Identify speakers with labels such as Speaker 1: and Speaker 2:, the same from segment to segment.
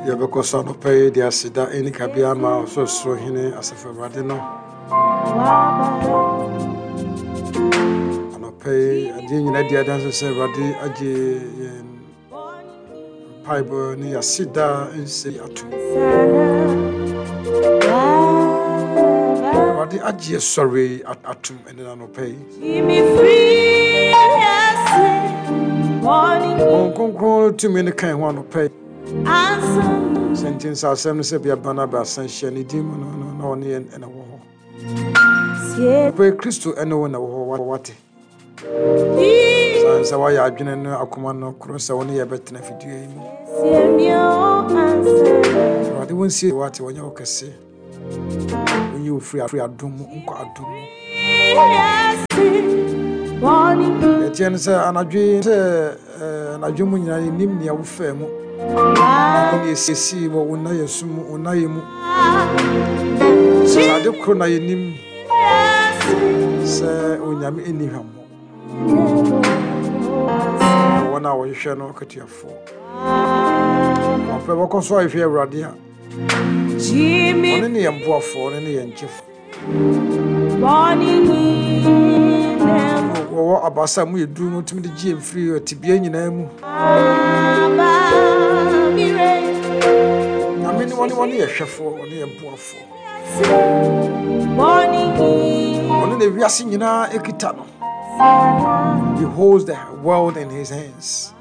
Speaker 1: Yɛbɛkɔ so anɔpa yi de aseda ne kabea ama Ɔsorosoro Hene Asafo Awurade no. Anɔpa yi, adeɛ nyinaa di adanse sɛ Awurade agye yɛn mpaebɔ ne yɛaseda nse atom. Awurade agye yɛ sɔre atom ɛne anɔpa yi. Honhom Kronkron no tumi no ka yɛn ho anɔpa yi. Sɛ nti nsa asɛm no sɛ bia ba no abaasa hyia ne din mu no no na ɔne yɛn na wɔ hɔ. Anɔpa yi Kristo ɛne wo na wɔ hɔ wate. Sane sɛ woayɛ adwene no akoma no koro sɛ wo ne yɛ bɛtena fidua yi mu. Awurade wo nsie wate wɔnyɛ wo kɛse. Wonyi wo firi adom mu nkɔ adom mu. Ɛteɛ no sɛ anadwo yi sɛ anadwo mu nyinaa yɛnim nea wofaa mu ne ɛsii wɔ wo nnayɛ so mu wo nnayɛ mu. Sɛ ade koro na yɛnim sɛ Onyame nni hwammɔ. Wɔn a wɔhwehwɛ no akatuafoɔ. Ɔpɛ bɛkɔ so ahwehwɛ Awurade a ɔno ne yɛn boafoɔ, ɔno ne yɛn gyefo. Wɔwɔ abasa mu yɛ duru no tumi de gye yɛn firi tebea nyinaa mu. Nyame ne wɔne wɔne yɛ hwɛfoɔ, ɔne yɛn boafoɔ. Ɔno na wiase nyinaa ekita no. He holds the world in his hands.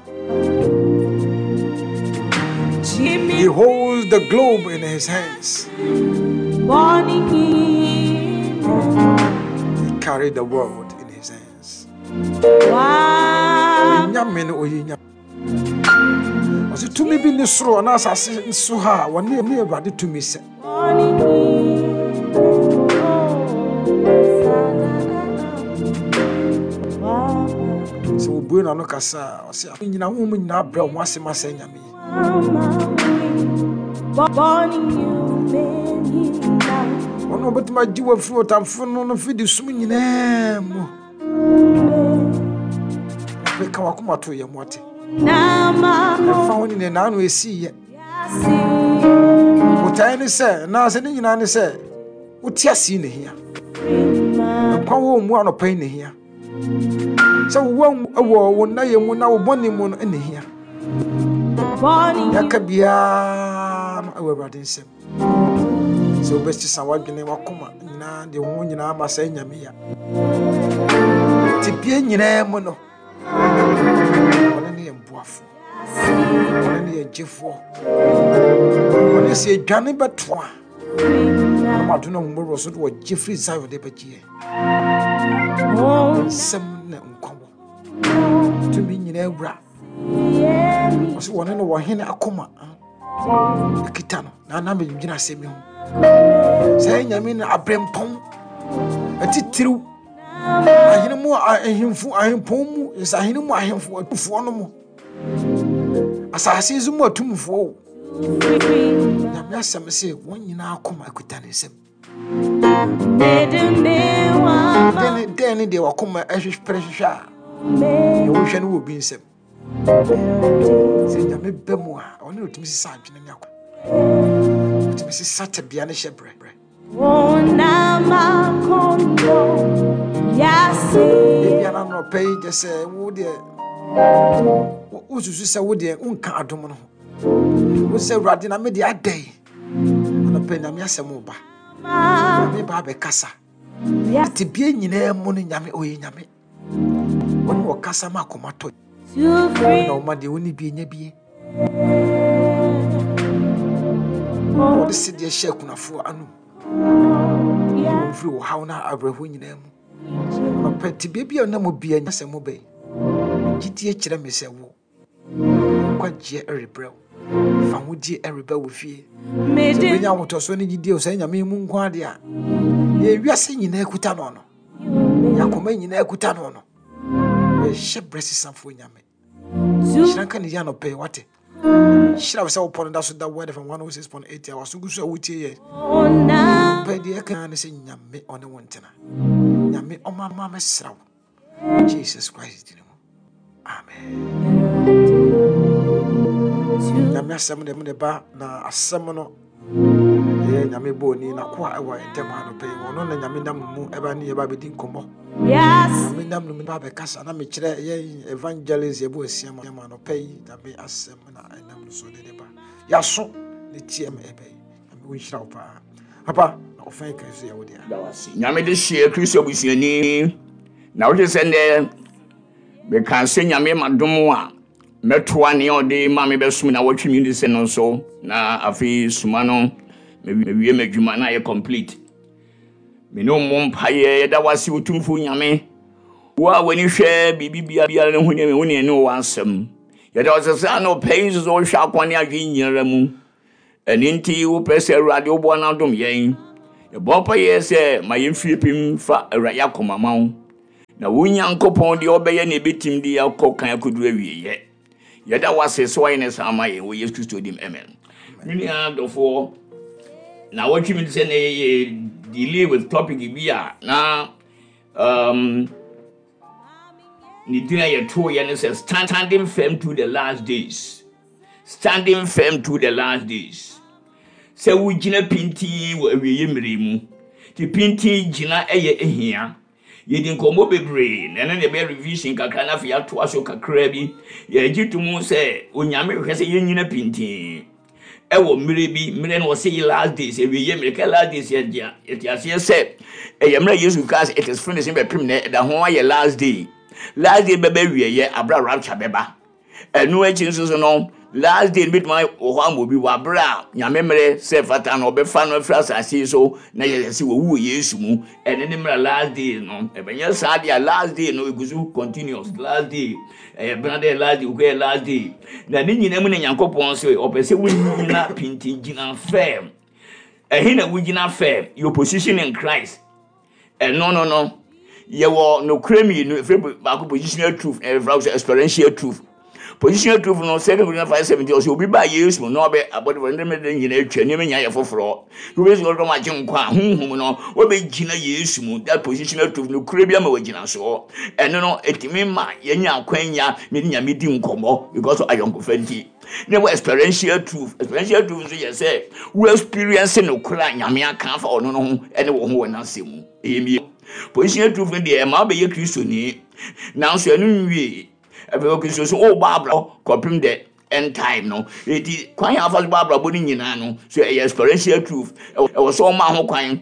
Speaker 1: He holds the globe in his hands. He carried the world in his hands. Nyame no oyi nyame. Ɔsɛ tumi bi ne soro anaa asase so ha a wɔne ne Awurade tumi sɛ. Sɛ wɔbue n'ano kasa a, ɔsɛ nyina honhom nyinaa brɛ wɔn ase ma sɛ nyame yi. Wɔn a wɔbɛtumi agye wɔ afiri ɔtamfo no no fidi sum nyinaa mu. Afei ka wakoma to yɛ mu ate. Ɛmfa ho ne nea n'ano esi yɛ. Botae ne sɛ, anaasɛ ne nyinaa ne sɛ, wote ase na hia. Nkwa wɔ mu anɔpa yi na hia. Sɛ wowɔ wɔ wo nnayɛ mu na wo bɔne mu no na hia. Yɛaka biara no wɔ Awurade nsam. Sɛ wobɛsesa w'adwene w'akoma nyinaa de wo ho nyinaa ma sɛ nyame ya. Tebea nyinaa mu no, ɔno ne yɛn boafo. Ɔno ne yɛn gyefoɔ. Ɔno sɛ yɛdwane bɛto a, ɔno ma adom no ahummɔborɔ so de wɔgye firi Zion de bɛgye yɛn. Nsɛm na nkwa wɔ. Tumi nyinaa wura. Ɔsɛ wɔne no wɔ hene akoma. Ɛkita no na na medwene asɛm yi ho. Sɛ nyame no abrɛmpɔn atitiriw ahene mu ahemfo ahempɔn mu nsahene mu ahemfo atufoɔ no mu asase so mu atumfoɔ o nyame asɛm sɛ wɔn nyinaa koma akuta ne nsam dɛn ne deɛ wakoma ɛhwehwɛ hwehwɛ a deɛ wohwɛ no wɔ obi nsam sɛ nyame bɛ mu a ɔne ɔtumi sesa adwene ne akwa ɔtumi sesa tebea ne hyɛ berɛ Ebia na anɔpa yi kyɛ sɛ wo deɛ wosusu sɛ wo deɛ wonka adom no ho wo sɛ awurade na me deɛ adɛn anɔpa nyame asɛm wo ba nyame ba abɛkasa tebea nyinaa mu no nyame ɔyɛ nyame Wɔne ɔkasa ma akoma tɔ. Na ɔma deɛ ɔnni bie nya bie. Wɔde sedeɛ hyɛ akunafoɔ anom. Wɔn firi ɔhaw na awerɛhoɔ nyinaa mu. Ɔpɛ tebea bi a ɔnam mu bia nya sɛ mo bɛn. Gyidie kyerɛ me sɛ wo. Nkwagyeɛ rebrɛ wo. Fahodie reba wo fie. Sɛ wobɛnya ahotɔsoɔ ne gyidie wɔ saa Nyame mu nko adeɛ a, deɛ wiase nyinaa kuta no no, deɛ akoma nyinaa kuta no no, ɔyɛ berɛ sesafoɔ Nyame. Hyira nka ne yɛ anɔpɛ yi, wate. Hyira wo sɛ wopɔ no da so da Word FM 106.8 a waso gu so a wotie yɛ. Pɛ deɛ ɛka ne sɛ Nyame ɔne wo ntena. Nyame ɔma ma mɛsra wo. Jesus Christ din mu. Amen. Nyame asɛm de mede ba na asɛm no ɛyɛ Nyame bɔɔ n'akoa ɛwɔ yɛn ntam anɔpa yi. Ɔno na Nyame nam mu ɛba ne yɛba bɛdi nkɔmmɔ. Nyame nam no mu ba bɛkasa na mekyerɛ yɛn evangelist yɛbɔ asia ma anɔpa yi Nyame asɛm na ɛnam no so de de ba. Yɛaso ne tie ma ɛbɛ yi. Nyame wo nhyira wo paa. Papa, na ɔfɛn kan so yɛ wo dea.
Speaker 2: Nyame de hyeɛ Kristo abusuani na wohwɛ sɛ nnɛ meka sɛ Nyame ma dom a mɛtoa nea ɔde ma me bɛsom na wɔtwe mi de sɛ no so na afei soma no mewie m'adwuma na ayɛ complete. Me ne mmɔ mpaeɛ yɛda wase Otumfoɔ Nyame wo a w'ani hwɛ biribi biara ne ho ne wo ne ɛne wɔ asɛm. Yɛda wase sɛ anɔpa yi nso sɛ wohwɛ akwan ne adwene nyinara mu. Ɛno nti wopɛ sɛ Awurade woboa no adom yɛn. Yɛbɔ mpaeɛ sɛ ma yɛn fie pem fa Awurade akoma ma wo. Na wo Nyankopɔn deɛ ɔbɛyɛ na ɛbɛtim de akɔ kan akɔduru awieeɛ. Yɛda wo ase sɛ woayɛ ne saa ama yɛn wɔ Yesu Kristo dim. Amen. Me nua dɔfoɔ, na wɔtwe mi sɛ na yɛyɛ delay with topic bi a na ne din a yɛtooyɛ ne sɛ standing firm to the last days. Standing firm to the last days. Sɛ wogyina pintinn wɔ awieeɛ mmerɛ mu. Nti pintinn gyina yɛ ehia. Yɛdi nkɔmmɔ bebree na ɛno na ɛbɛyɛ revision kakra na afei yɛatoa so kakra bi. Yɛgye to mu sɛ Onyame hwehwɛ sɛ yɛnyina pintinn ɛwɔ mmerɛ bi, mmerɛ no wɔse last days, awieeɛ mmerɛ. Ka last days yɛte aseɛ sɛ ɛyɛ mmerɛ Yesu kaa sɛ it is finished bɛpem nɛ ɛda ho ayɛ last day. Last day bɛba awieeɛ aberɛ a rapture bɛba. Ɛno akyi nso so no, last day no bɛtumi wɔ hɔ ama obi wɔ abere a Nyame mmerɛ sɛ fata no ɔbɛfa no afiri asase yi so na yɛyɛ sɛ wɔwu wɔ Yesu mu. Ɛno ne mmerɛ last day no. Ɛbɛnyɛ saa deɛ a last day no ɛgu so continuous. Last day ɛyɛ bena dɛ last day wokɔ yɛ last day. Na ne nyinaa mu na Nyankopɔn sɛ ɔpɛ sɛ wonyina pintin gyina firm. Ɛhe na wogyina firm? Your position in Christ. Ɛno no no, yɛwɔ nokorɛ mmienu, ɛfiri baako positional truth, na yɛfrɛ sɛ experiential truth. Positional truth no, 2 Corinthians 5:17, ɔsɛ obi ba Yesu mu na ɔbɛ abɔde fɔ nneɛma de nyinaa atwa, nneɛma nyinaa yɛ foforɔ. Wobɛsi ɔdɔm agye nkwa a, honhom no, wɔbɛgyina Yesu mu. That positional truth, nokorɛ bi ama wɔagyina soɔ. Ɛno no, ɛtumi ma yɛnya akwanya ne Nyame di nkɔmmɔ because of ayɔnkofa nti. Na ɛwɔ experiential truth. Experiential truth nso yɛ sɛ wo experience nokorɛ a Nyame aka afa ɔno no ho ne wo ho wɔ n'asɛm mu. Ɛyɛ mmienu. Positional truth no deɛ ɛma wobɛyɛ Kristoni, nanso ɛno nwie. Afei wɔ Kristo so wobɔ abrabɔ kɔpem the end time no. Eti kwan a afa so bɔ abrabɔ no nyinaa no, so ɛyɛ experiential truth. Ɛwɔ sɛ ɔma ho kwan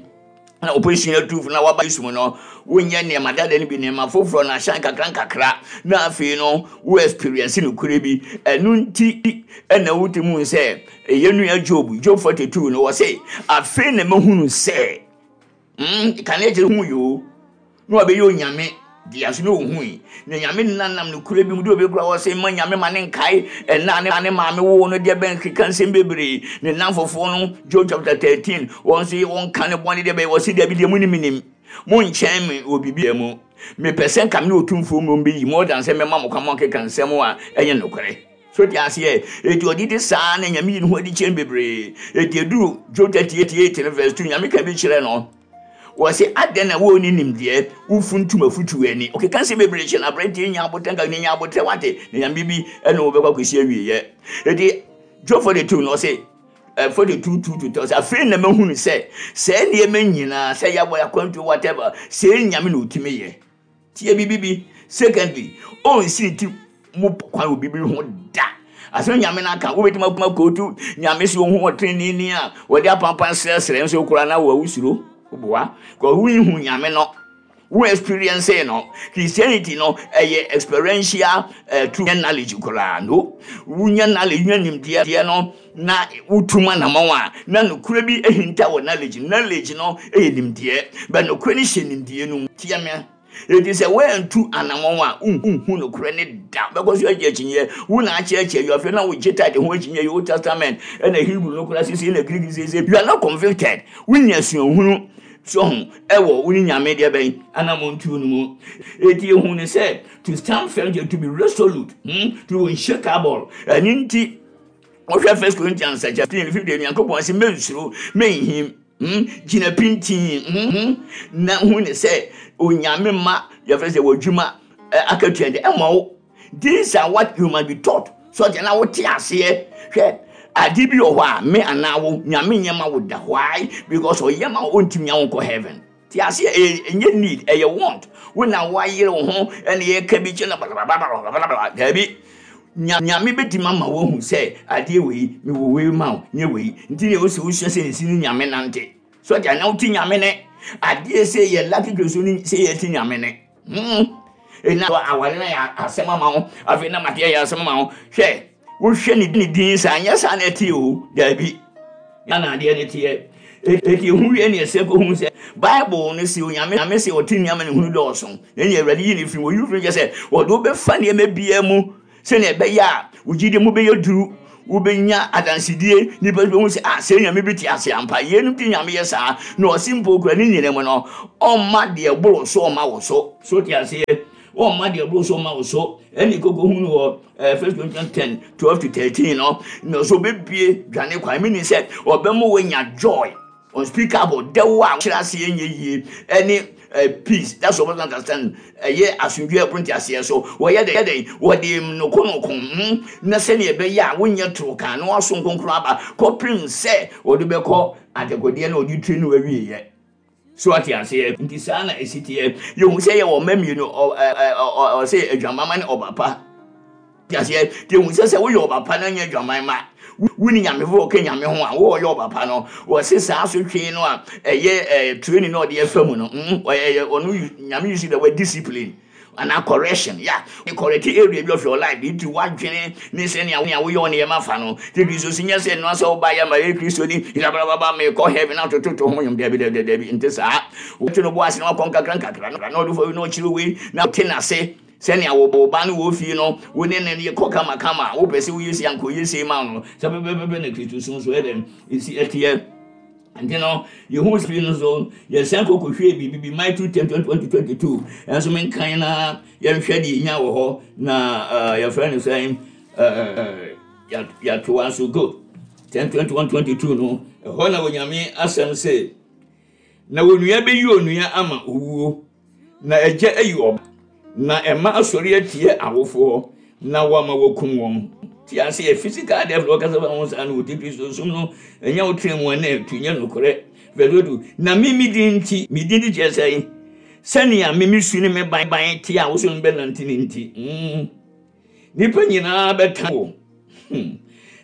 Speaker 2: na opposition truth na waba Yesu mu no, wonyɛ nneɛma dada no bi, nneɛma foforɔ no ahyɛn kakra nkakra, na afei no wo experience nokorɛ bi. Ɛno nti ɛna wotumi hu sɛ yɛn nua Job, Job 42 no, wɔse afei na mahunu sɛ kane akyire hu yoo na wabɛyɛ onyame dea so na ohui na nyame nanam nokorɛ bi mu de obi kora wɔ sɛ ma nyame ma ne nkae ɛna ne ne maame woo no deɛ bɛn keka nsɛm bebree ne namfofoɔ no Job chapter 13 wɔn nso yɛ wɔn ka ne bɔne deɛ bɛyɛ wɔ se deɛ bi deɛ mu ne menim mo nkyɛn me wɔ biribi mu mepɛ sɛ nka me ne otumfoɔ mmom bɛyi more than sɛ mɛma mo kwan mo akeka nsɛm a ɛnyɛ nokorɛ. So te aseɛ? Enti ɔde di saa na nyame yi ne ho adi kyerɛ no bebree. Enti ɛduru Job 38 no verse 2 nyame ka bi kyerɛ no. Wɔse adɛn na wo ne nimdeɛ wofuntum afutuo ani. Ɔkeka nsɛm bebree kyerɛ no aberanteɛ nya abotrɛ nka nya abotrɛ wate na nyame bi ɛne wo bɛkɔ akɔsi awieɛ. Enti Job 42 no ɔse 42 2 to 3 ɔse afei na mahunu sɛ saa nneɛma nyinaa sɛ yɛabɔ akwantuo whatever sɛ nyame na ɔtumi yɛ. Tie biribi bi. Secondly, ɔnsi ne ti mu kwan wɔ biribi ho da. Asɛm Nyame no aka, wobɛtumi akoma kootu Nyame sɛ ɔhu ɔteneneeni a wɔde apampan srɛsrɛ nso koraa na wɔawu suro. Woboa. Kɔ wonhu Nyame no. Wo experience no. Christianity no ɛyɛ experiential truth, nyɛ knowledge koraa. No. Wonya knowledge, wonya nimdeɛ no na wotu mu anamɔn a, na nokorɛ bi ahinta wɔ knowledge. Knowledge no yɛ nimdeɛ, but nokorɛ no hyɛ nimdeɛ no mu. Tie me. Enti sɛ woantu anamɔn a, wonhu nokorɛ no da. Wobɛkɔ so agye akyinnyeɛ. Wo na akyerɛkyerɛ yi, afei na wogye tithe ho akyinnyeɛ yi, Old Testament, ɛna Hebrew no koraa seesei, ɛna Greek seesei. You are not convicted. Wonya suahunu so ho ɛwɔ wo ne Nyame deɛ bɛn anammɔntuo no mu. Enti yɛhu no sɛ to stand firm, to be resolute, to be unshakable. Ɛno nti, wohwɛ First Corinthians chapter 15, 15, Nyankopɔn se mensuro, menhim, gyina pintinn, na hu ne sɛ Onyame ma yɛfrɛ sɛ w'adwuma akatua de ɛma wo. These are what you must be taught. So ɔte na wote aseɛ. Hwɛ, Ade bi wɔ hɔ a me anaa wo Nyame nyɛ ma wo da. Why? Because ɔyɛ ma wo ɔntumi nya wo nkɔ heaven. Te aseɛ, ɛyɛ ɛnyɛ need, ɛyɛ want. Wo na woayere wo ho ɛna yɛka bi kyerɛ na blablabla. Daabi. Nyame bɛtumi ama woahu sɛ adeɛ wei, mewɔ wei ma wo, nyɛ wei. Nti na ɛwɔ sɛ wosua sɛ nsi ne Nyame nante. So ɔte anaa wote Nyame ne. Adeɛ sɛ yɛ lucky Kristo ne sɛ yɛte Nyame ne. Hmm. Ɛna aware no yɛ asɛm ama wo. Afei na mateɛ yɛ asɛm ama wo. Hwɛ, wohwɛ ne ne din saa, nyɛ saa na ɛte o. Daabi. Na na adeɛ no teɛ. Eti ehu wie ne ɛsɛ kɔhu sɛ Bible no se Onyame Nyame se ɔte nneɛma ne hunu dɔɔso. Na ɛne Awurade yi ne firi mu. Oyi firi kyɛ sɛ wɔde wobɛfa nneɛma biara mu Sɛnea ɛbɛyɛ a wo gyidi mu bɛyɛ duru, wobɛnya adansedie, nnipa bɛhu sɛ, ah, sɛ Nyame bi te ase ampa. Yeinom nti Nyame yɛ saa, na ɔse mpo kura ne nyina mu no, ɔmma deɛ ɛboro so mma wo so. So te aseɛ? Ɔmma deɛ ɛboro so mma wo so. Ɛne koko hunu wɔ eh, 1 Corinthians 10, 12 to 13 no, na ɔsɛ ɔbɛbie dwane kwan, meaning sɛ ɔbɛma woanya joy. Unspeakable, dɛw a kyerɛ aseɛ nyɛ yie, ɛne eh, peace, that's what I understand, ɛyɛ asomdwoeɛ ɛboro nteaseɛ so. Wɔyɛ dɛn dɛn? Wɔde nokonoko hmm, na sɛdeɛ ɛbɛyɛ a wonyɛ toro kan na waso nkonkron aba kɔpem sɛ wɔde bɛkɔ adekodeɛ na wɔde tiri no awieɛ. So ate aseɛ? Nti saa na ɛsi teɛ. Yɛhu sɛ yɛwɔ mma mmienu, ɔsɛ adwamama ne ɔba pa. Te aseɛ? Nti ehu sɛ sɛ woyɛ ɔba pa na nyɛ adwaman ma wonni nyame foforɔ ka nyame ho a, wo ɔyɛ ɔba pa no, wɔse saa asotwee no a ɛyɛ eh, training na ɔde ɛfa mu no, mm, ɔyɛ ɔno nyame use the word discipline anaa correction, ya, yeah. Correct area bi of your life, nti wadwene ne sɛnea woyɛ nneɛma fa no. Nti Kristo si nyɛ sɛ nnoa sɛ woba yɛ ma yɛ Kristo ni, blablabla, mekɔ heaven atototo ho nwom, dabi dabi dabi, nte saa. Wote no bo ase na wakɔ nkakra nkakra na ɔde fa na ɔkyerɛ wei na te n'ase. Sɛnea wo wo ba no wɔ fie no, wo ne no yɛ kɔ kamakama a, wopɛ sɛ woyɛ sei anka ɔyɛ sei ma wo no, saa pɛpɛpɛpɛ na Kristosom nso yɛ dɛn? Ɛsi ɛteɛ. Nti no, yɛhu fie no so, yɛsan kɔ kɔhwɛɛ biribi bi, Matthew 10, 21 to 22. Ɛnso menkan na yɛnhwɛ deɛ ɛnya wɔ hɔ, na uh, yɛfrɛ no sɛn, uh, yɛatoa so good. 10, 21, 22 no, ɛhɔ na Onyame asɛm se, na onua bɛyi onua ama owuo, Na agya ayi ɔba, na ɛma asɔre atia awofoɔ, na wɔama wɔakum wɔn. Te aseɛ, physical death na wɔkasa fa ho saa no wɔ ti Kristo som no, ɛnyɛ wo tena mu a na ɛtu nyɛ nokorɛ. Verse 2, na me me din nti, me din nti kyerɛ sɛn? Sɛnea me me su ne me ban ban te a wo so no bɛnante ne nti. Mm. Nnipa nyinaa bɛtan wo. Hmm.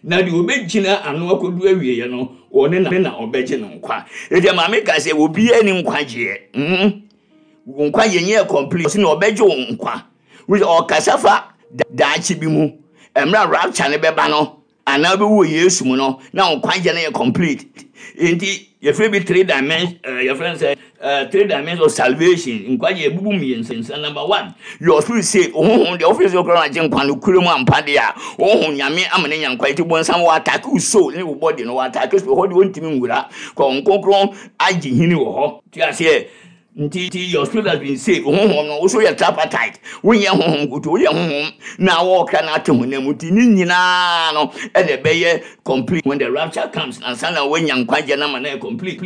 Speaker 2: Na deɛ ɔbɛgyina ano akɔdu awieɛ no, ɔne na, na ɔbɛgye no nkwa. Ɛdeɛ maame ka sɛ obiara ni nkwagyeɛ. Hmm. Wo nkwagyeɛ nyɛ complete. Ɔsɛ na ɔbɛgye wo nkwa. Ɔkasa fa daakye bi mu. Mmerɛ rapture no bɛba no, Anaa wobɛwu wɔ Yesu mu no, na wo nkwagyeɛ no yɛ complete. Enti yɛfrɛ bi three dimension, eh, yɛfrɛ no sɛ eh, three dimensions of salvation. Nkwagyeɛ ebubu mmiɛnsa. Number one, your spirit saved. Wo honhom deɛ wofiri sɛ wokura no agye nkwa no kura mu ampa deɛ a, wo honhom Nyame ama no anya nkwa. Enti bonsam wɔ attack wo soul ne wo body no, wɔ attack spirit hɔ deɛ ɔntumi nwura. Kɔ Honhom Kronkron agye hini wɔ hɔ. Te aseɛ? Nti nti your spirit has been saved. Honhom no, wo so yɛ tripartite. Wonyɛ honhom nkoto, woyɛ honhom na wɔɔkra na ate honam mu. Nti ne nyinaa no ɛna ɛbɛyɛ complete when the rapture comes. Ansa na woanya nkwagyeɛ no ama no ayɛ complete.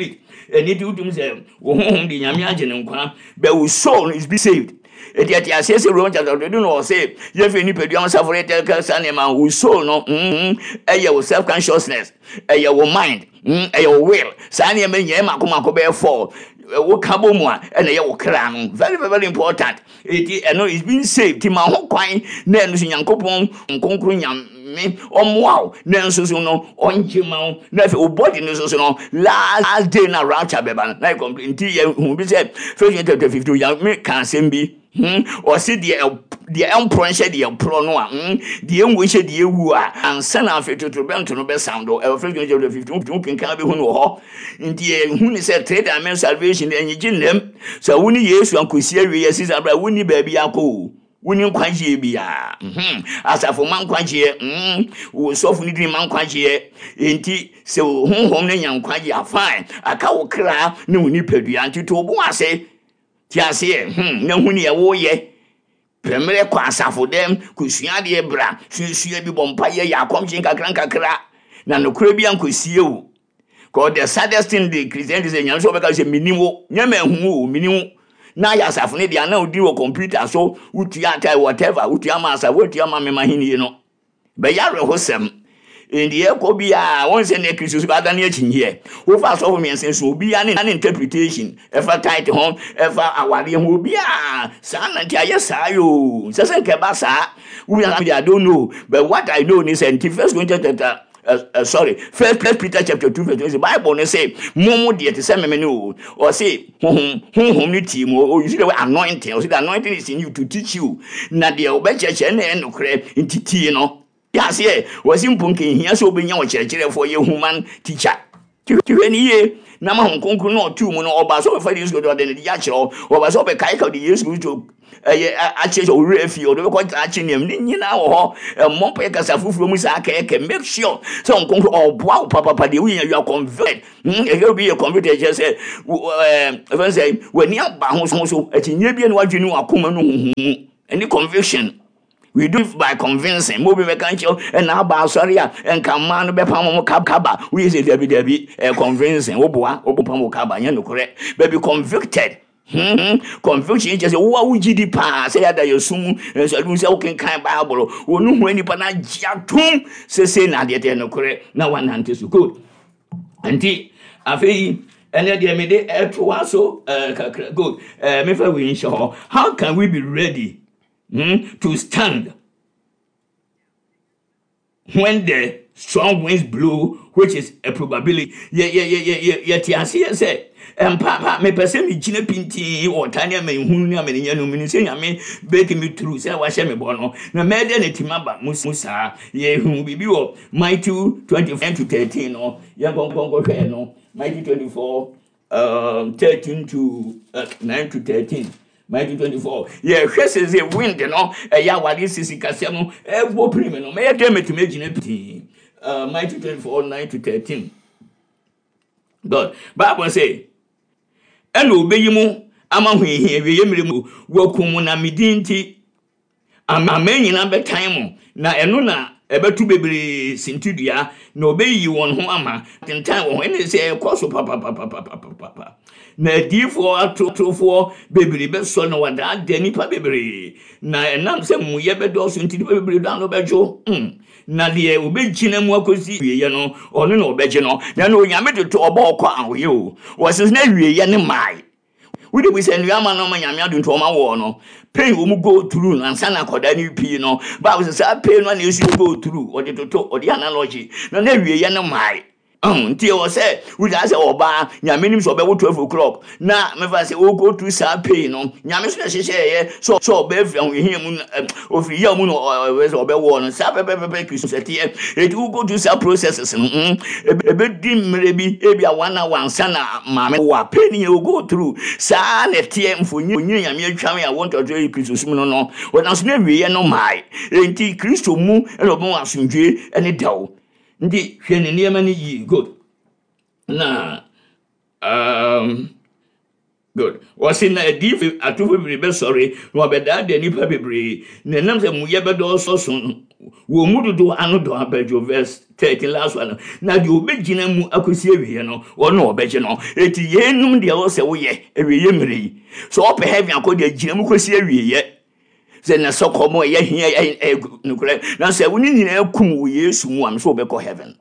Speaker 2: Ɛno nti wotumi sɛ wo honhom de Nyame agye no nkwa, but wo soul no is be saved. Ɛti ɛte aseɛ sɛ Romans chapter 2 no ɔse yɛfiri nipadua ho safo yɛtɛ ka saa nneɛma wo soul no mm, ɛyɛ wo self consciousness, ɛyɛ wo mind. Hmm, ɛyɛ wo will. Saa nneɛma nyinaa mako mako bɛyɛ four. Wo ka bɔ mu a, ɛna ɛyɛ wo kra no. Very very very important. Eti ɛno is being saved. Ti ma ho kwan na ɛno so Nyankopɔn nkonkron Nyame ɔmmoa wo na nso so no ɔngye ma wo. Na afei wo body no so so no last day na rapture bɛba no na yɛ complete. Nti yɛ hu bi sɛ First Corinthians chapter 15 Nyame ka asɛm bi. Hmm, ɔse deɛ deɛ ɛmporɔ nhyɛ deɛ ɛporɔ no a, hmm, deɛ ɛnwu nhyɛ deɛ ɛwu a, ansa na afei totorobɛnto no bɛsound. Ɛwɔ First Corinthians chapter 15, wotumi kenkan bɛhu no wɔ hɔ. Nti yɛhu ne sɛ three dimension salvation ɛnyegye nnam. Sɛ wo ne Yesu ankɔsi awie yɛ sisa berɛ a wonni baabi akɔ o. Wonni nkwagyeɛ biara. Hmm, asafo ma nkwagyeɛ. Hmm, wo sɔfo no dini ma nkwagyeɛ. Nti sɛ wo honhom no nya nkwagyeɛ a fine, aka wo kra ne wo nipadua. Nti to wo bo ase. Te aseɛ, hmm, na hu neɛ woreyɛ. Pɛ mmerɛ kɔ asafo dɛm, kɔsua adeɛ bra, suasua bi, bɔ mpaeɛ, yɛ akɔmkye nkakra nkakra, na nokorɛ bi ankɔsie wo. Cause the saddest thing de Christianity sɛ Nyame sɛ ɔbɛka sɛ menim wo, nyɛ manhu wo o, menim wo. Na ayɛ asafo no deɛ, na wodi wɔ computer so, wotua atae, whatever, wotua ma asafo, wotua ma me m'ahennie no. Bɛyɛ awerɛhosɛm. Enti yɛkɔ biara, wɔn sɛ ne Kristo so adane akyinnyeɛ. Wofa asɔfo mmiɛnsa so, obiara ne ne interpretation, ɛfa tithe ho, ɛfa awareɛ ho, obiara saa na nti ayɛ saa yoo. Sɛ sɛ nka ɛba saa, wonya I don't know, but what I know ne sɛ nti First Corinthians chapter sorry, First Peter chapter 2 verse 20, Bible ne sɛ mo mo deɛ te sɛ meme ne o. Ɔse honhom honhom ne tie mu. O use the word anointing. Ɔse the anointing is in you to teach you. Na deɛ ɔbɛkyerɛkyerɛ na ɛyɛ nokorɛ nti tie no. Yɛ aseɛ, wɔse mpo nka ehia sɛ wobɛnya ɔkyerɛkyerɛfoɔ yɛ human teacher. Nti hwɛ no yie na ma Honhom Kronkron no a ɔtoo mu no, ɔbaa sɛ ɔbɛfa Yesu Kristo ɔde ne de akyerɛ wo, ɔbaa sɛ ɔbɛkaekae ɔde Yesu Kristo ɛyɛ akyerɛ sɛ ɔwerɛ afi, ɔde bɛkɔ daakye nneɛma ne nyinaa wɔ hɔ. Ɛmmɔ mpaeɛ kasa foforɔ mu saa kɛkɛ. Make sure sɛ Honhom Kronkron ɔboa wo papapa deɛ woyɛ you are converted. Ɛyɛ obi yɛ convicted kyerɛ sɛ ɛɛ ɛfɛn sɛ w'ani aba ho so akyinnye bi ne w'adwene ne w'akoma no huhu mu ɛne conviction. We do it by convincing. Mo bi bɛka nkyɛw ɛna aba asɔre a nka mmaa no bɛpam wɔn kaba. Woyɛ sɛ dabi dabi ɛyɛ convincing. Woboa wobɛpam wo kaba nyɛ nokorɛ. But be convicted. Conviction kyerɛ sɛ wo a wogye di paa sɛ yɛada yɛ sum mu nso ɛdum sɛ wokenkan Bible wo no hu nipa no agye atom sɛ sei na adeɛ teɛ nokorɛ na wanante so. Good. Nti afei ɛnɛ deɛ mede ɛtoa so kakra. Good. Mefa wei nhyɛ hɔ. How can we be ready to stand when the strong winds blow, which is a probability? Yɛte aseɛ sɛ mpa mepɛ sɛ megyina pintinn wɔ ɔtaa ne amanehunu ne amanenya no mu no sɛ Nyame bɛtumi turu sɛ wahyɛ me bɔ no na mɛyɛ dɛ na ɛtumi aba mu saa. Yɛhu biribi wɔ Matthew 24 to 13 no, yɛnkɔnkɔnkɔhwɛɛ no Matthew 24 13 to 9 to 13. Matthew 24. Yɛhwɛ sɛ sɛ wind no ɛyɛ awade sisi kasɛm no ɛbɔ pirim no mɛyɛ dɛ mɛtumi agyina pintinn. Matthew 24 9 to 13. God. Bible sɛ ɛna obeyi mu ama hohia awieeɛ mmerɛ mu wɔakum mo na me din nti Aman nyinaa bɛtan mo, na ɛno na ɛbɛto bebree sintidua, na wɔbɛyiyi wɔn ho ama, atentan wɔn ho. Ɛne sɛ ɛkɔ so papapapapapa. Na adiyifoɔ atorofoɔ bebree bɛsɔ na wɔadaadaa nnipa bebree, na ɛnam sɛ muyɛ bɛdɔɔso nti, nnipa bebree dɔ ano bɛdwo. Na deɛ ɔbɛgyina mu akɔsi awieeɛ no, ɔno na ɔbɛgye no. Na ɛno Onyame de to ɔbɔ ɔkɔ a ɔyɛ o. Wɔsese na awieeɛ no mmae. Wode bu sɛ nnuama no ma Nyame adom nti ɔma wɔɔ no pain wɔn go through no ansa na akɔdaa no pii no Bible sɛ saa pain no na Yesu go through ɔde toto ɔde analogy na na awieɛ no mae ɔho nti ɛwɔ sɛ wogyaa sɛ ɔbaa Nyame nim sɛ ɔbɛwo 12 o'clock na mefa sɛ o go through saa pain no Nyame so na ɛhyehyɛɛyɛ sɛ sɛ ɔbaa firi ahohiahia mu ofiri yaw mu na ɔbɛ sɛ ɔbɛwoɔ no saa pɛpɛpɛpɛ Kristo sɛ teɛ eti wo go through saa processes no ebedi mmerɛ bi ebi a one hour ansa na maame wo a pain yɛ wo go through saa na ɛteɛ mfonyin Nyame atwa me a wɔn tɔtɔ yi Kristo sum no no wɔnam so na awieɛ no mae enti Kristo mu ɛna ɔbɛn asomdwe ɛne dɛw nti hwɛ ne nneɛma no yie. Good. Na good. Wɔse na adiyifo atofo bebree bɛsɔre na wɔabɛdaadaa nnipa bebree, na ɛnam sɛ muyɛ bɛdɔɔso no, wɔn mu dodoɔ ano dɔ abɛdwo. Verse 13 last one. Na deɛ ɔbɛgyina mu akɔsi awieɛ no, ɔno na ɔbɛgye no. Eti yeinom deɛ ɛwɔ sɛ woyɛ awieɛ mmerɛ yi. Sɛ ɔpɛ heaven akɔ deɛ, gyina mu kɔsi awieɛ. Sɛ na sɛ kɔm ɛyɛ hia ɛyɛ nokorɛ, na sɛ wo ne nyinaa kum wɔ Yesu mu a, mesɛ wobɛkɔ heaven.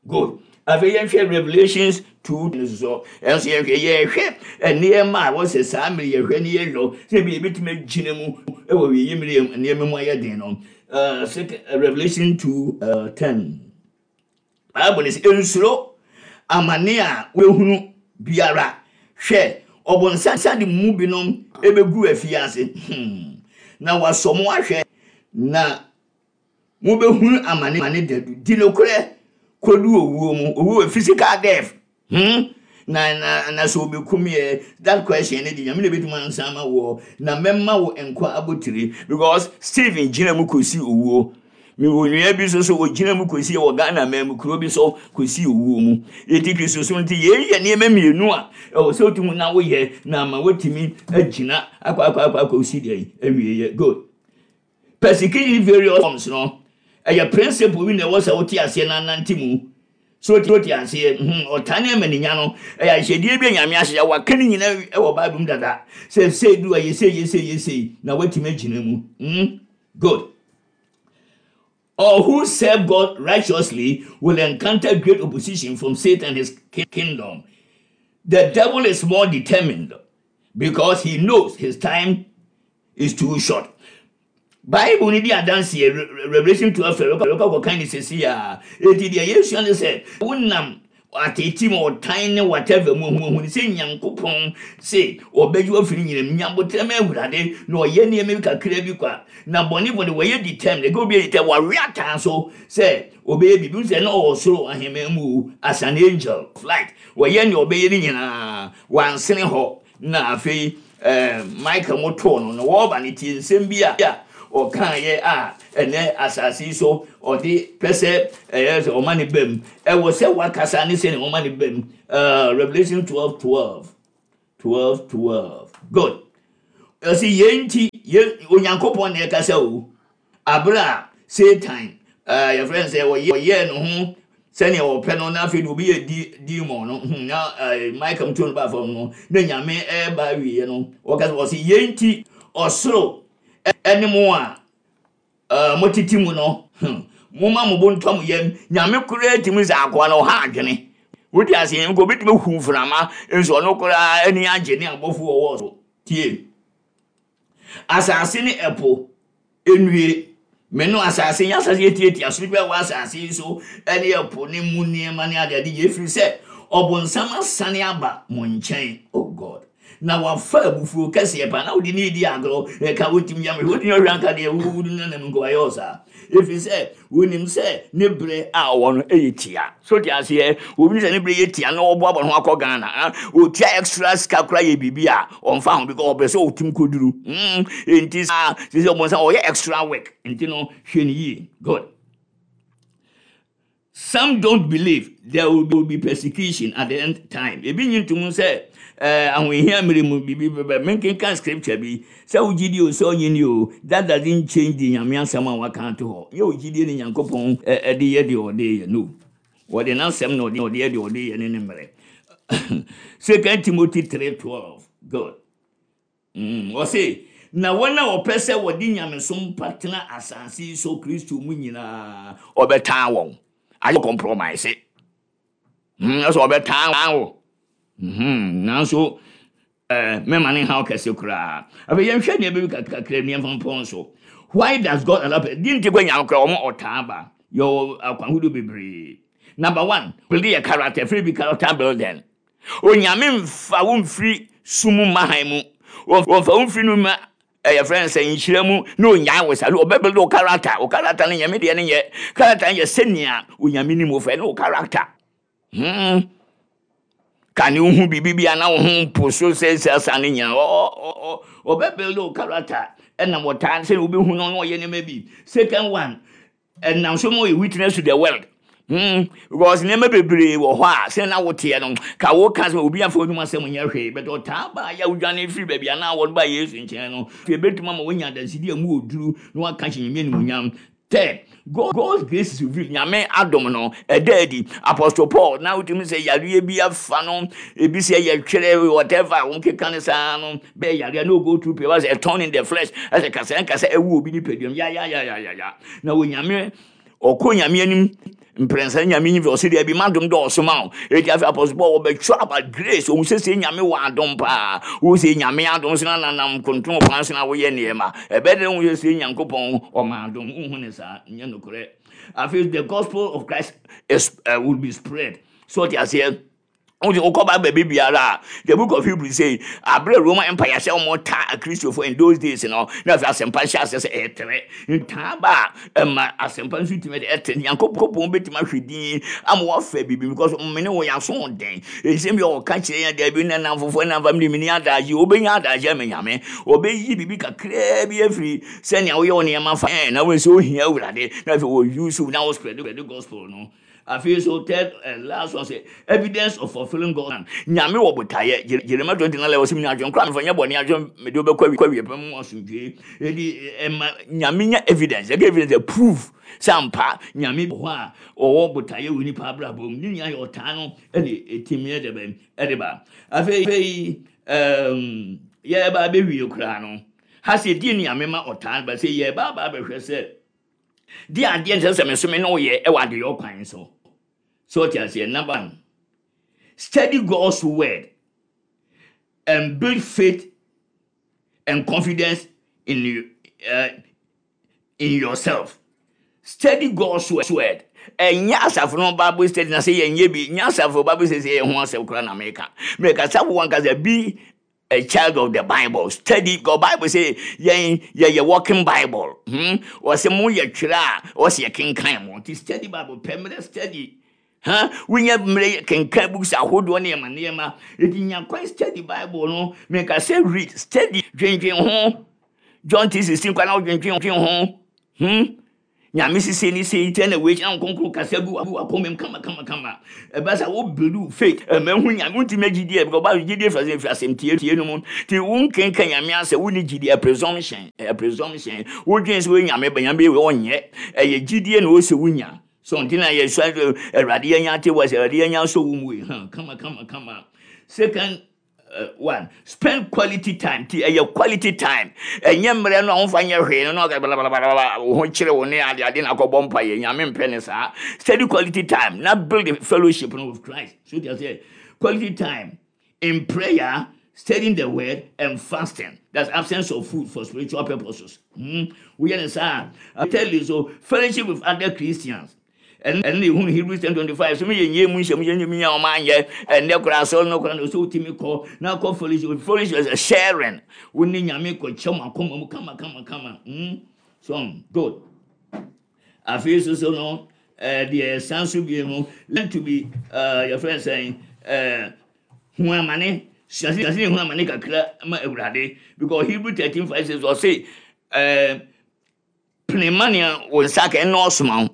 Speaker 2: Good. Afei yɛnhwɛ Revelations 2 no so. Ɛnso yɛnhwɛ yɛhwɛ nneɛma a wɔsɛ saa mmere yɛhwɛ ne yɛyɔ sɛ ebi ebetumi agyina mu wɔ wieyɛ mmere nneɛma mu ayɛ den no. Second, Revelation 2 10. Bible no sɛ nsuro amane a wobɛhunu biara. Hwɛ, ɔbonsam de mo mu binom ebegu afiase. Na wasɔ mo ahwɛ na Mobɛhunu amane amane dadu. Di nokorɛ kɔdu owuo mu. Owuo wɔ physical death. Na, na, na sɛ ɔbɛkum yɛ, that question ne de, Nyame na ɛbɛtumi ansa ama woɔ. Na mɛma wo nkwa abotire. Because Stephen gyina mu kɔsi owuo. Mewɔ nua bi nso so, ɔgyina mu kɔsi wɔ Ghana man mu kuro bi so kɔsi owuo mu. Enti Kristosom nti, yei yɛ nneɛma mmienu a ɛwɔ sɛ wotumi na woyɛ na ama woatumi agyina akɔ akɔ akɔ akɔsi deɛ awieɛ. Good. Persecution in various forms no, ɛyɛ principle bi na ɛwɔ sɛ wote aseɛ na anante mu. So wote aseɛ? Ɔtaa ne amaninya no, ɛyɛ ahyɛdeɛ bi a Nyame ahyehyɛ. Waka ne nyinaa wɔ Bible mu dada. Sɛ sei du a, yɛ sei, yɛ sei, yɛ sei, na woatumi agyina mu. Good. Or who serve God righteously will encounter great opposition from Satan and his kingdom. The devil is more determined because he knows his time is too short. Bible ni di adanseɛ Revelation 12 yɛbɛkɔ akɔkan ne sɛsi a enti deɛ yɛsua ne sɛ wonam ateetee mu ɔtan ne whatever mu hu ne sɛ Nyankopɔn se ɔbɛgye wo afiri nyina mu. Nya aboterɛ ma Awurade na ɔyɛ nneɛma bi kakra bi kwa. Na bɔnefo de wɔyɛ determined, ɛka obi yɛ determined, wawe ataa so sɛ ɔbɛyɛ biribi. Wohu sɛ na ɔwɔ soro ahemman mu o, as an angel of light, wɔyɛ nea ɔbɛyɛ no nyinaa, wansene hɔ. Na afei Michael mo too no, na wɔreba no, tie nsɛm bi a ɔkaeɛ a ɛnɛ asase yi so ɔde pɛ sɛ ɛyɛ sɛ ɔma ne bam. Ɛwɔ sɛ wakasa ne sɛnea ɔma ne bam. Revelation 12 12 12 12. Good. Ɔsi yɛn nti, yɛn Onyankopɔn na ɛkasa o. Aber a Satan, yɛfrɛ no sɛ ɔyɛɛ no ho sɛnea ɔpɛ no, na afei de obi yɛ demon no, na Michael to no baa fam no, na Nyame ɛreba awieɛ no, ɔka sɛ, ɔse, yei nti ɔsoro ne mo a motete mu no, momma mo bo ntɔ mo yam. Nyame koraa tumi sɛ akoa no ɔha adwene. Wote aseɛ? Nka obɛtumi ahu mframa, nso ɔno koraa ani agye ne abɔfo wɔwɔ so. Tie. Asase ne ɛpo nnue. Me no asase nyɛ asase etiatia so bi a ɛwɔ asase yi so ne ɛpo ne mu nneɛma ne adeade nyinaa, ɛfiri sɛ ɔbonsam asane aba mo nkyɛn. Oh God. Na wafa abufuo kɛseɛ paa na wode ne redi agorɔ, ɛka wontumi yɛ me hwee, wotumi ɔhwɛ anka deɛ wode nanam nka wayɛ wo saa. Ɛfiri sɛ Wonim sɛ ne bere a ɔwɔ no yɛ tia. So te aseɛ? Obi sɛ ne bere yɛ tia na ɔboaboa ne ho akɔ Ghana. Ah, otua extra sika koraa yɛ biribi a ɔmfa ho because ɔpɛ sɛ ɔtum kɔduru. Enti saa sɛ sɛ ɔbɔnsam ɔyɛ extra work. Nti no hwɛ no yie. Good. Some don't believe there will be persecution at the end time. Ebi nyi ntom sɛ eh, ahohia mmere mu biribi bɛba. Menkenkan scripture bi. Sɛ wo gyidie o, sɛ ɔnye nni o, that doesn't change the Nyame asɛm a waka ato hɔ. Nyɛ wo gyidie ne Nyankopɔn de yɛ deɛ ɔde yɛ, no. Wɔde n'asɛm na ɔde yɛ deɛ ɔde yɛ ne ne mmerɛ. Second Timothy 3:12, good. Ɔse, na wɔn a wɔpɛ sɛ wɔde nyamesom pa tena asase yi so Kristo mu nyinaa, ɔbɛtaa wɔn. Ayɛ compromise. Ɛsɛ ɔbɛtaa wo. Nanso Mɛma ne haw kɛse koraa. Afei yɛnhwɛ nneɛma bi kakra bi yɛmfa mpɔn so. Why does God allow pain? Di nti kɔ Nyame koraa wɔn ɔtaa ba. Yɛwɔ akwan ahodoɔ bebree. Number one, build yɛ character, firi bi character building. Onyame mfa wo mfiri sum mu mma hann mu. Wɔmfa wo mfiri no mma ɛyɛ frɛ no sɛ nhyira mu na onyaa wo saa. Ɔbɛ build wo character. Wo character no nyɛ me deɛ no nyɛ. Character no yɛ sɛnea Onyame nim wo fɛ ne wo character. Hmm. Ka ne wohu biribi bi a na wo ho mpo so sɛ sɛ asa no nyinaa. Ɔbɛ build wo character ɛnam ɔtaa sɛ wobɛhu no na ɔyɛ nneɛma bi. Second one, ɛnam so ma ɔyɛ witness to the world. Because nneɛma bebree wɔ hɔ a sɛ na woteɛ no ka woka sɛ obi afa onum asɛm nyɛ hwee but ɔtaa baa yɛ wodwane firi baabi a na wɔn ba Yesu nkyɛn no ebɛtumi ama wonya adansedi a mu wɔ duru na waka hyɛ Nyame animuonyam. Third, God's grace is revealed, Nyame adom no, ɛda adi. Apostle Paul, na wotumi sɛ yareɛ bi afa no, ebi sɛ yɛ twerɛ, whatever, wɔn keka no saa no, bɛyɛ yareɛ, no go through pain, wɔsɛ a thorn in the flesh, ɛsɛ kasa nkasa ɛwu obi nipaduam, ya ya ya ya ya ya. Na Onyame, ɔkɔ Nyame anim, mprɛnsa Nyame nyi ɔsɛ deɛ bi madom dɔɔso ma wo. Eti afei Apostle Paul wɔbɛtwerɛ about grace, ohun sɛ sɛ Nyame wɔ adom paa, wo sɛ Nyame adom so na nanam konton kwan so na woyɛ nneɛma. Ɛbɛyɛ dɛn wohu sɛ sɛ Nyankopɔn ɔma adom? Wonhu no saa, nyɛ nokorɛ. Afei the gospel of Christ is, will be spread. So ɔte aseɛ? Wode wokɔ Bible baabi biara a, the book of Hebrews say, abere Roman Empire sɛ wɔn taa Akristofo in those days no, na afei asɛmpa hyɛ aseɛ sɛ ɛretrɛ. Ntaa ba a, ɛma asɛmpa nso tumi de ɛtrɛ. Nyankopɔn bɛtumi ahwɛ din ama wafa biribi because mene wɔ yɛn aso den. Nsɛm bi a ɔka kyerɛ yɛn daabi na nnamfofoɔ na mfa mede meni adagye, wobɛnya adagye ama Nyame. Ɔbɛyi biribi kakraa bi afiri sɛnea woyɛ wo nneɛma fa na wohu sɛ wohia Awurade na afei wɔ use wo na wo spread the gospel no. Afei so third and last one sɛ evidence of fulfilling God's plan. Nyame wɔ botaeɛ. Jeremiah 29 11 ɔsɛ menya adwene koraa mefa nyɛ bɔne adwene mede wobɛkɔ awie pɛ mu asomdwoe. Edi ɛma Nyame nya evidence. Yɛka evidence a proof sɛ ampa Nyame wɔ hɔ a ɔwɔ botaeɛ wɔ nipa abrabɔ mu. Ne nyinaa yɛ ɔtaa no ɛde ɛtumi ɛde bɛn ɛde ba. Afei um, yɛba abɛwie koraa no ha sɛ di Nyame ma ɔtaa no ba sɛ yɛba aba abɛhwɛ sɛ. Di adeɛ nsɛ sɛ me so me ne wo yɛ ɛwɔ adeyɔ kwan so. So ɔte aseɛ? Number one, study God's word and build faith and confidence in you, in yourself. Study God's word. Ɛnyɛ asafo no Bible study na sɛ yɛnyɛ bi, nyɛ asafo Bible study sɛ yɛ ho asɛm koraa na meka. Meka sɛ wo ankasa be a child of the Bible. Study God Bible say yɛn yɛyɛ working Bible. Wɔsɛ mo yɛ twerɛ a wɔsɛ yɛ kenkan mo. Nti study Bible pɛ mmerɛ study. Ha wonya mmerɛ kenkan books ahodoɔ ne nneɛma nneɛma. Nti nya kwan study Bible no. Meka sɛ read, study, dwendwen ho. John 3:16 kwan na wodwendwen ho. Nyame sese ne sei sɛ na wei na nkonkron kasa gu wakoma mu kama kama kama. Ɛba sɛ wo build wo faith ɛma hu Nyame wontumi agyidie because Bible gyidie firi asɛm firi asɛm tie tie no mu. Ti wo nkenka Nyame asɛ wo ni gyidie a presumption a presumption. Wo dwen sɛ wo Nyame ba Nyame bɛyɛ ɔnyɛ. Ɛyɛ gyidie na ɔsɛ wo nya. So nti na yɛ sua Awurade yɛnya ate wɔ sɛ Awurade yɛnya sɔ wo mu yi ha kama kama kama. Second one, spend quality time. Ti ɛyɛ quality time. Ɛnyɛ mmerɛ no a womfa nyɛ hwee no na ɔka blablabla wo ho kyerɛ wo ne ade ade na akɔbɔ mpa yɛ Nyame mpɛ ne saa. Study quality time na build fellowship no with Christ. So ti aseɛ, quality time in prayer, studying the word and fasting. That's absence of food for spiritual purposes. Woyɛ ne saa. Thirdly, so fellowship with other Christians. Ɛno na ehunu Hebrews 10:25 so meyɛ nyɛ mu nhyɛm yɛ nyɛ ɔma anyɛ ɛnɛ koraa asɔre no koraa na ɔsɛ wotumi kɔ na kɔ fellowship. Fellowship is sharing. Wo ne Nyame kɔ kyɛ mo akoma mu kama kama kama. So good. Afei so so no deɛ ɛsan so bie no, learn to be yɛfrɛ no sɛn, hu amane, sua sɛ hu amane kakra ma Awurade, because Hebrew 13:5 says ɔse pene ma nea wo nsa ka ɛnɔɔso ma wo,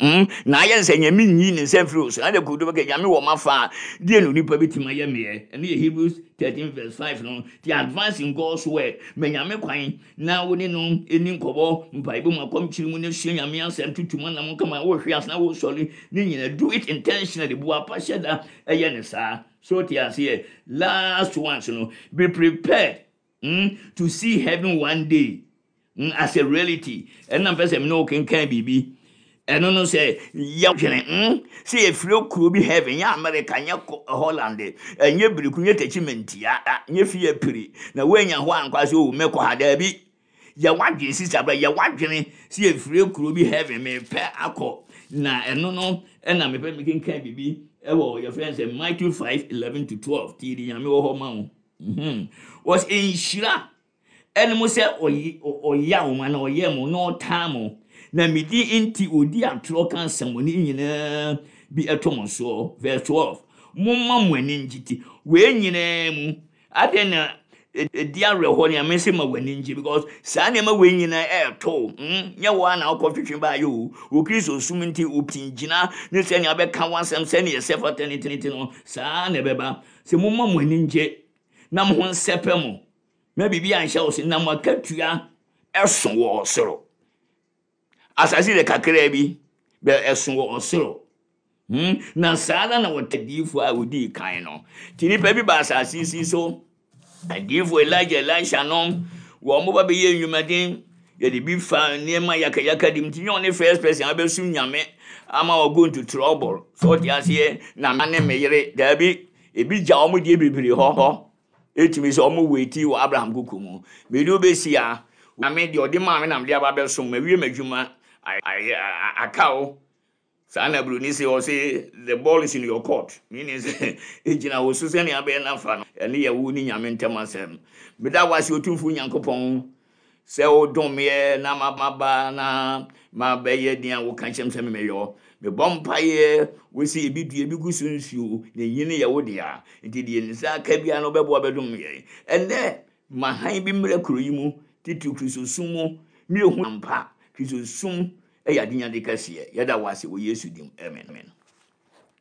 Speaker 2: na ayɛ sɛ Nyame nyi ne nsa mfiri wo so, na de kodo bɛka Nyame wɔ m'afa a, deɛ na onipa bɛtumi ayɛ meɛ? Ɛno yɛ Hebrews 13 verse 5 no. Nti advance in God's word, ma Nyame kwan na wo ne no ɛni nkɔmmɔ, mpaebɔ mu, akɔmkyere mu, na sua Nyame asɛm, tutu mu anam kama, wohwe ase na wosɔre, ne nyina do it intentionally, boapa hyɛ da ɛyɛ ne saa. So te aseɛ? Last ones no, be prepared to see heaven one day as a reality. Ɛna mpɛ sɛ mene wo kenkan biribi. Ɛno no sɛ yɛdwene sɛ yɛfiri kuro bi heaven, nyɛ America, nyɛ Holland, ɛnyɛ Biriku, nyɛ Tachimentia, nyɛ fie piri, na woanya hɔ ankwa sɛ o mɛkɔ ha. Daabi, yɛ wadwene sisa bra, yɛ wadwene sɛ yɛfiri kuro bi heaven, mepɛ akɔ. Na ɛno no ɛna mepɛ mekenkan biribi ɛwɔ yɛfrɛ sɛ Matthew 5:11 to 12. Tie di Nyame wɔ hɔ ma wo. Wɔs nhyira ɛne mo sɛ ɔya mo anaa ɔyɛ mo na ɔtaa mo, na me din nti ɔdi atorɔ ka nsɛmmɔne nyinaa bi ɛto mo soɔ. Verse 12, momma mo ani ngye ti wei nyinaa mu. Adɛn na ɛdi awerɛhoɔ nea mese ma w'ani ngye? Because saa nneɛma wei nyinaa ɛɛto. Nyɛ wo a na wokɔ twetwe baayɛ o. Wo Kristo som nti wo gyina ne sɛnea wobɛka w'asɛm sɛnea ɛsɛ fata ne tene no, saa na ɛbɛba. Sɛ momma mo ani ngye na mo ho nsɛpɛ mo, na biribi anhyɛ wo so, na mo akatua ɛso wɔ ɔsoro. Asase de kakraa bi, bɛ ɛso wɔ ɔsoro. Na saa ara na wɔte adiyifoɔ a wɔdii kan no. Nti nnipa bi ba asase si so, adiyifoɔ Elijah, Elisha nom, wɔn mo ba bɛyɛ nnwumaden, yɛde bi fa nneɛma yakayaka dim. Nti nyɛ ɔne first person a bɛsum Nyame ama wɔ go into trouble. So ɔte aseɛ, na me ne me yere, daabi, ebi gya wɔn deɛ bebree hɔ. Etumi sɛ wɔn wait wɔ Abraham kuku mu. Mede wo bɛsi ha, Nyame deɛ ɔde maa me na mede aba abɛsom, mawie m'adwuma, aka wo. Saa na Buroni se, ɔse the ball is in your court, meaning sɛ egyina wo so sɛnea abɛyɛ no afa no. Ɛno yɛ wo ne Nyame ntam asɛm. Meda wo ase Otumfoɔ Nyankopɔn sɛ wodom meɛ na maba na mabɛyɛ nea woka kyerɛ me sɛ memmɛyɔ. Mebɔ mpaeɛ, wose ebi dua, ebi gu so nsuo, na enyini yɛ wo dea. Nti deɛ nsa aka biara no wobɛboa bɛdom yɛn. Ɛnnɛ, ma hann bi mmra kuro yi mu, titiriw Kristosom mu, ma yɛhu ampa Kristosom yɛ adenyade kɛseɛ. Yɛda wo ase wɔ Yesu din mu. Amen.